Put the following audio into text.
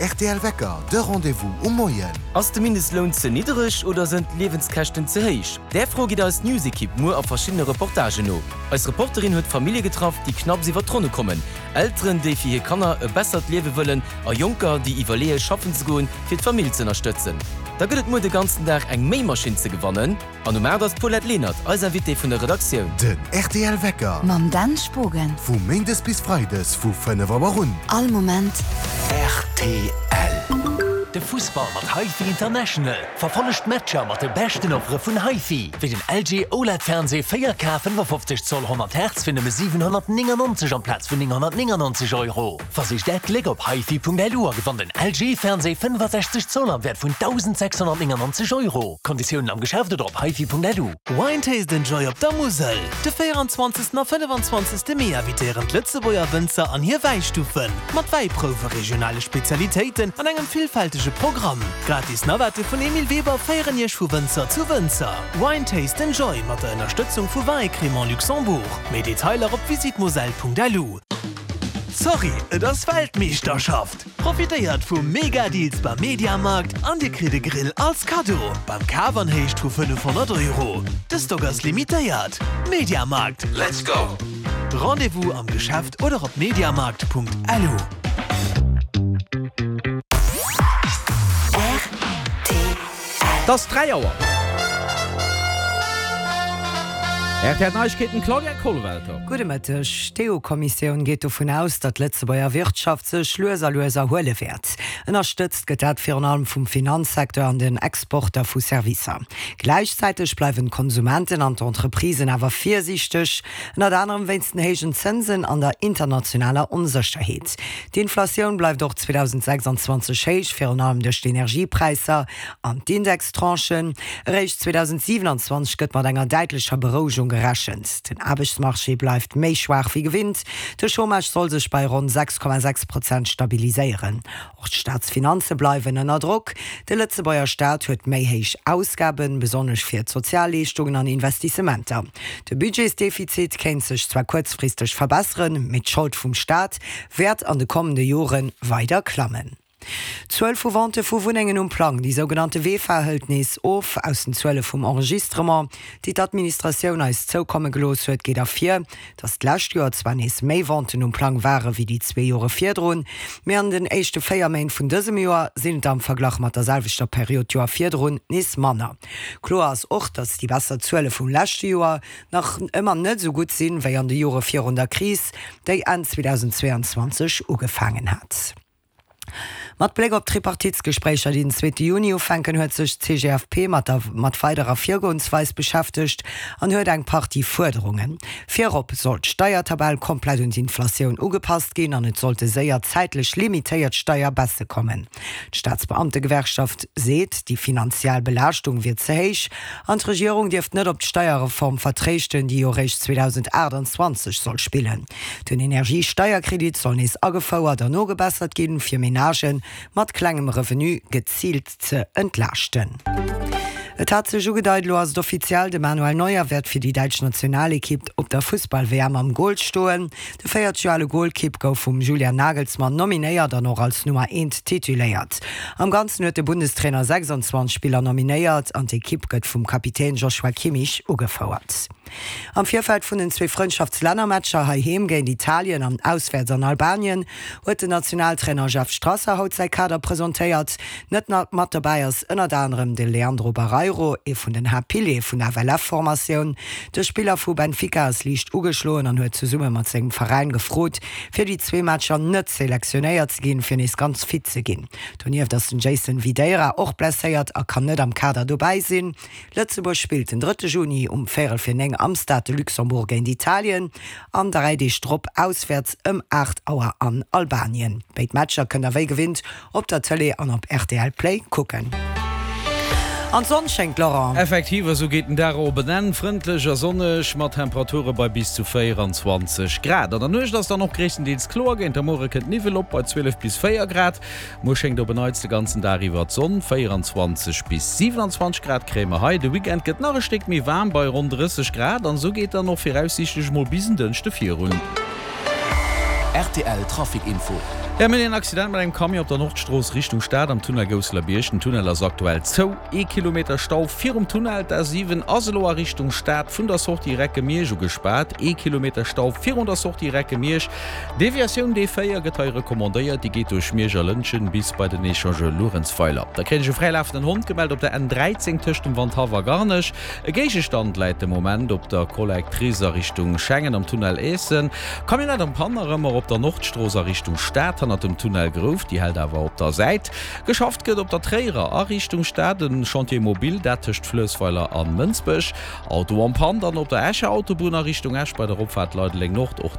rtl Wecker, de Rendez-vous um Moien. Ass de Mindestloun ze niddereg oder sënn d'Liewenskäschten ze héich? Där Fro geet eis News-Ekipp muer a verschiddene Reportagen no. Eis Reporterin huet Famillje getraff, déi knapps iwwer d'Ronne kommen, Elteren, déi fir hir Kanner e bessert Liewe wëllen a Jonker, déi iwwerleeë schaffen ze goen, fir d'Famill z'ënnerstëtzen. Da gëtt et muer de ganzen Dag eng Méimaschinn ze gewannen. An um 8 ass d'Paulette Lenert eis Invitée vun der Redaktioun. Den rtl Wecker. Mam Dan Spogen. Vu Méindes bis Freides vu 5 Auer un. All Moment. Rtl. De Fussball mat HiFi International. Verfollegt d'Matcher mat de beschten Offere vun HiFi, wéi den LG OLED Fernseh 4K 55 Zoll 100 Hertz fir nëmme 799 amplaz vun 999 Euro. Versicht Äert Gléck op hifi.lu a gewannt en LG Fernseh 65 Zoll am Wäert vun 1.699 Euro. Konditiounen am Geschäft oder op hifi.lu. Wine Taste and Joy op der Musel! De 24. a 25. Mee invitéieren d'Lëtzebuerger Wënzer an hir Wäistuffen, mat Wäiprouwe, regionale Spezialitéiten an engem villfältege Programm. Gratis Navette vun Emile Weber féieren Iech vu Wënzer zu Wënzer. Wine Taste and Joy mat der Ënnerstëtzung vu Vins et Crémants Luxembourg. Méi Detailer op visitmoselle.lu. Sorry, et ass Weltmeeschterschaft! Profitéiert vu Mega-Deals beim Mediamarkt an dir kritt e Grill als Kaddo beim Kaf an Héicht vu 500 Euro. De Stock ass limitéiert. Mediamarkt, let's go! Rendez-vous am Geschäft oder op mediamarkt.lu. Et ass 3 Auer. Rtl Neiegkeeten, Claudia Kollwelter. Gudde Mëtteg. D'EU-Kommissioun geet dovun aus, datt d'Lëtzebuerger Wirtschaft sech lues a lues erhuele wäert. Ënnerstëtzt gëtt dat virun allem vum Finanzsecteur an den Exporter vu Servicer. Gläichzäiteg bleiwen d'Konsumenten an d'Entreprisen awer virsiichteg, ënnert anerem wéinst den héijen Zënsen an der internationaler Onsécherheet. D'Inflatioun bleift och 2026 héich, virun allem duerch d'Energiepräisser An d'Indextranchen. Eréischt 2027 gëtt mat enger däitlecher Berouegung gerechent. Den Aarbechtsmarché bleift méi schwaach wéi gewinnt. De Chômage soll sech bei ronn 6,6 Prozent stabiliséieren. Och d'Staatsfinanze bleiwen ënner Drock. De Lëtzebuerger Staat huet méi héich Ausgaben, besonnesch fir d'Sozialleeschtungen an Investissementer. De Budgetsdefizit kéint sech zwar kuerzfristeg verbesseren, mee d'Schold vum Staat wäert an de kommende Jore weider klammen. D'Zuel vu Vente vu Wunnengen um Plang, déi sougenannte VEFA, hëlt nees of. Aus den Zuele vum Enregistrement, déi d'Administratioun eis zoukomme gelooss huet, geet ervir, datt d'lescht Joer zwar nees méi Venten um Plang ware wéi déi zwee Jore virdrun, mee an den éischte 4 Méint vun dësem Joer sinn et der am Verglach mat der selwechter Period d'Joer virdrun nees manner. Kloer ass och, datt déi besser Zuele vum leschte Joer nach ëmmer net esou gutt sinn, wéi an de Jore virun der Kris, déi Enn 2022 ugefaangen hat. Mat Bléck op d'Tripartitsgespréicher, déi den zweete Juni ufänken, huet sech d'CGFP mat der mat weiderer Virgoensweis beschäftegt an huet eng Partie Fuerderungen. Virop soll d'Steiertabell komplett un d'Inflatioun ugepasst ginn an et sollte séier zäitlech limitéiert Steierbaisse kommen. D'Staatsbeamtegewerkschaft seet, déi finanziell Belaaschtung wier ze héich an d'Regierung dierft net op d'Steierreform vertréischten, déi jo réischt 2028 soll spillen. Den Energiesteierkredit soll nees agefouert an nogebessert ginn, fir Menagë mat klengem Revenu geziilt ze entlaaschten. Et hat sech ugedeit, elo ass et offiziell, De Manuel Neuer wäert fir déi däitsch Nationalekipp op der Fussball-WM am Gol stoen. De 40 Joer ale Golkipp gouf vum Julian Nagelsmann nominéiert an och als Nummer eent tituléiert. Am Ganzen huet de Bundestrainer 26 Spiller nominéiert an d'Ekipp gëtt vum Kapitän Joshua Kimmich ugefouert. Am Virfeld vun den zwee Frëndschaftslännermatcher heiheem géint Italien an auswäerts an Albanien huet den Nationaltrainer Jeff Strasser haut säi Kader presentéiert. Net mat dobäi ass ënnert anerem de Leandro Barreiro, ee vun den Haaptpiliere vun der FLF-Formatioun. De Spiller vu Benfica ass liicht ugeschloen an huet zesumme mat sengem Veräin gefrot, fir déi zwee Matcher net selektionéiert ze ginn, fir nees ganz fit ze ginn. Donieft ass den Jason Videira och blesséiert a kann net am Kader dobäi sinn. Lëtzebuerg spillt den drëtte Juni um véierel fir 9 am Stade de Luxembourg géint Italien an 3 Deeg drop auswäerts ëm 8 Auer an Albanien. Béid Matcher kënnt der wéi gewinnt op der Tëlee an op rtl Play kucken. An d'Sonn schéngt, Laurent. Effektiv, esou geet den Dag och op en Enn, frëndlech a sonneg mat Temperature bei bis zu 24 Grad. An der Nuecht ass dann och gréisstendeels kloer, géint der Muere kënnt Niwwel op bei 12 bis 4 Grad. Muer schéngt op en Neits de ganzen Dag iwwer d'Sonn, 24 bis 27 Grad kréie mer hei. De Weekend gëtt nach e Stéck méi waarm bei ronn 30 Grad an esou geet dann och viraussiichtlech mol bis en Dënschde virun. Rtl Trafic Info. Mir hunn een Accident mat engem Camion op der Nordstrooss Richtung Stad am Tunnel Gousselerbierg. Den Tunnel ass aktuell zou. Ee Kilometer Stau virum Tunnel. D'A7 ass elo a Richtung Stad vun der Sortie Recke-Miersch ugespaart. Ee Kilometer Stau virun der Sortie Recke-Miersch. Deviatioun D4 gëtt hei recommandéiert, déi geet duerch Miersch a Lëntgen bis bei den Echangeur Luerenzweiler. Da kréien ech e fräilafenden Hond gemellt op der N13 tëscht dem Wandhaff a Garnech. E Géigestand läit de Moment op der Collectrice a Richtung Schengen am Tunnel Eessen. Camionnette am Panne nach ëmmer op der Nordstrooss a Richtung Stad hannert dem Tunnel Grouf, déi hält awer op der Säit. Geschafft gëtt op der Tréierer a Richtung Stad, en Chantier mobile, dat tëscht Fluessweiler an Mënsbech. Auto en panne dann op der Escher Autobunn a Richtung Esch bei der Opfaart Leideleng Nord. Och dee.